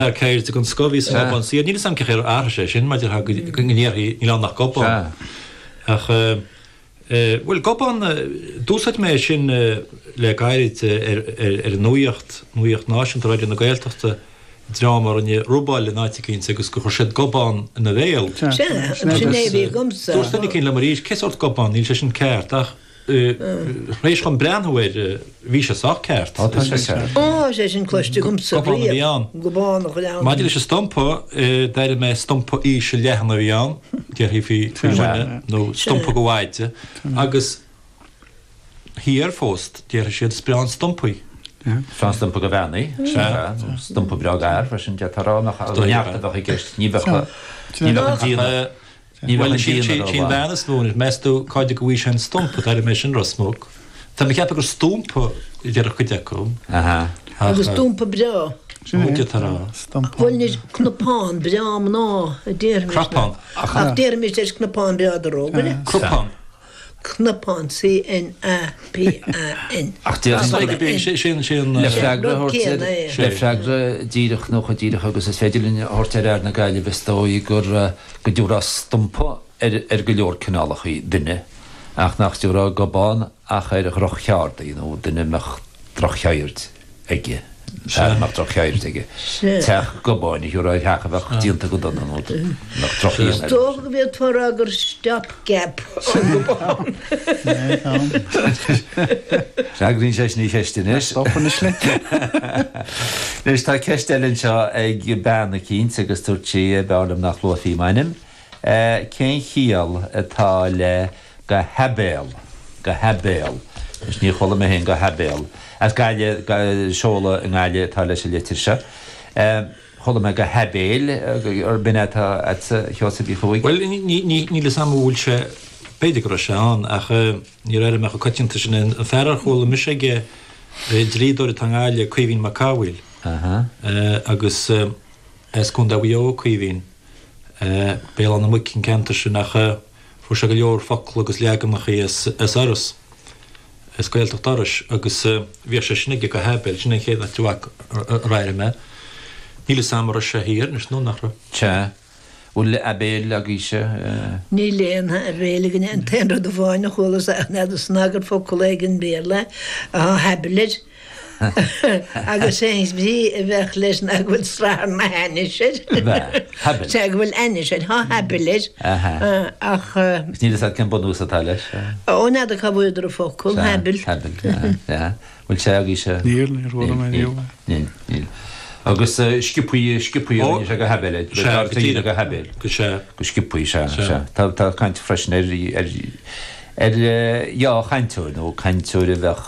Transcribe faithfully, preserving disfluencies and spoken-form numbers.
Fear ceirde den scoth a bhí sa ngobán saor. Níl 'fhios a'm cén chaoi ar athraigh sé sin maidir le go ndéarfaí níl ann ach gobán. Ach bhuel gobán, d'úsáid mé é sin le gairid ar ar an nuaíocht, nuaíocht náisiúnta Raidió na Gaeltachta, dream a rinne robáil in áit eicínt agus gur chuir siad gobán ina bhéal. Sea, sin é a bhí agamsa. Dúirt duine eicínt liom arís, cé sórt gobán, níl sé sin ceart ach Tar éis dhom breathnú air, bhí sé sách ceart. Ó, tá sé ceart. Ó, tá sé sin cloiste agamsa Gobán a bhí riamh. ann. Gobán a ghleann. Maidir leis an stumpa, d'airigh mé stumpa íseal leathan a bhí ann, déarfaí faoi faoi dhuine, nó stumpa go mhaide, agus thiar fós, déarfaidh siad is breá an stumpa í. Is breá an stumpa go bhean í. Sea. Nó stumpa breá d'fhear freisin, d'fhéadfá a rá, nach neart a bheadh i gceist. Ní bheadh, ní bheadh an díon. Ní bheadh Bhuel, an sin díon sin an bhean is mó anois. Meas tú cá dtig go bhfaighidh sé an stumpa? D'airigh mé sin Ros Muc. Tá mé ag ceapadh gur stúmpa a déarfadh cuid acu. Aha. Ach Agus stumpa breá. Sin é. Ó, d'fhéadfá a rá. Stumpa. Bhuel anois, cnapán breá mná a déarfaimis. Crapán. Ach déarfaimis leis cnapán breá de rógaire. Crupán. Cnapán, C N A P A N. Ach déarfainn Sin sin sin le freagra a Rud thabhairt ar céanna é. le freagra díreach nó chomh díreach agus is féidir linn a thabhairt ar fhear na Gaillimhe is dóigh gur go dtabharfá stumpa ar ar go leor cineálacha duine ach nach dtabharfá gobán ach ar dhroch-cheardaí nó duine a mbeadh droch-cheird aige. Fear a mbeadh droch-cheird aige. Teach gobáin a thiúrfá ar theach a bheadh déanta go dona nó mbeadh droch-dhíon Is air. dócha go bhféadfá a rá gur stop gap an gobán. Freagraíonn sé sin an cheist anois. Stop anois le. Anois tá ceist eile anseo ag bean eicínt agus dúirt sí b'fhearr liom nach luafaí m'ainm. Cén chiall atá le go haibéil, go haibéil. Anois níor chuala mé féin go haibéil. As Gaillimh, seoladh i nGaillimh atá leis an litir seo. Chuala mé go haibéil, b'in é atá agatsa, a Sheosaimh Uí Chuaig? Bhuel, níl fhios a'm an bhfuil sé, b'fhéidir go raibh sé ann, ach níor airigh mé chomh coitianta sin é. An fear ar chuala mise aige, dlíodóir atá i nGaillimh, Caoimhín Mac Cathmhaoil, agus as Contae Mhaigh Eo, Caoimhín, Béal Átha na Muice an ceantar sin, ach fuair sé go leor focal agus leaganacha as as Iorras, as Gaeltacht Iorrais, agus bhíodh sé sin aige go haibéil, sin an chéad áit a airigh mé. Níl fhios a'm an raibh sé thiar anois nó nach raibh. Sea. Bhfuil aibéil agaibhse? Níl aon aibéil againne. An t-aon rud amháin a chualas n'fheadar snagar focal éigin Béarla, atá haibéil air. Agus é an bhrí a bheadh leis ná go bhfuil srathar na hainnis air. Bheadh. Sea, go bhfuil ainnis air. Tá haibéil air. Ach. Is níl fhios agat cén bunús atá leis. Ó, n'fheadar cá bhfuaireadar an focal, haibéil. Haibéil, sea. Bhfuil sé agaibhse? Níl, níor chuala mé riamh é. Níl, níl. Agus sciobthaí, sciobthaí a rinne sé go haibéil é. Sea, go díreach. Go haibéil. Go sea. Go sciobthaí, sea, sea. Tá, tá caint freisin ar, ar, ar dhea-chainteoir nó cainteoir a bheadh